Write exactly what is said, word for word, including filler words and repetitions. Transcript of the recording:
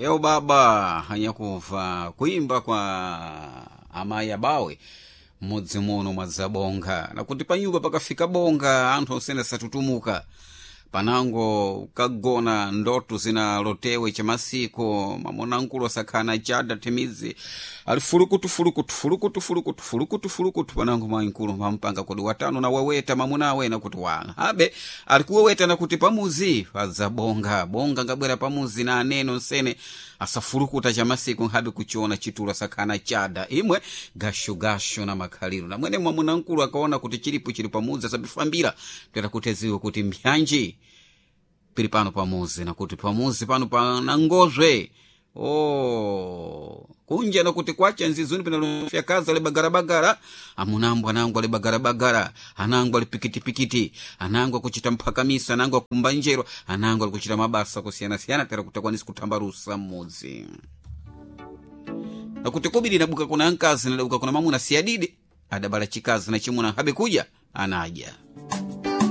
Eo baba hanyakuva kuimba kwa amayi abawe mmudzi muno mwadzabonga nakuti panyumba pakafika bonga anthu osene satutumuka panango kagona ndoto zinalotewe chamasiku mamunankulu asakhana chada thimidzi ali fulukutu fulukutu fulukutu fulukutu fulukutu fulukutu panango mayinkulu mampanga kodi watano na waweta mamunawe nakuti wa habe ali kuweweta nakuti pamuzi padzabonga bonga ngabwera pamuzi na aneno nsene asafulukuta chamasiku nkhabe kuchiona chitulo asakhana chada imwe gashogasho na makhaliro na mwene mwamunankulu akaona kuti chilipo chili pamuzi asabifambira toera kuti aziwe kuti mbyanji pili pano pamuzi nakuti pamuzi pano pana ngozwe oh kunja nakuti kwacha nzizuni pinalofya kazi ali bagarabagara amunangu anangu ali bagarabagara anangu ali pikitipikiti anangu akuchita mphakamisa anangu akumba njero anangu ali kuchita mabasa kusiyanasiyana tera kuti akwanisi kutambarusa mudzi nakuti kobiri nabuka kuna nkazi nadabuka kuna mamuna siyadidi adabala chikazi na chimuna habe kuja anaja.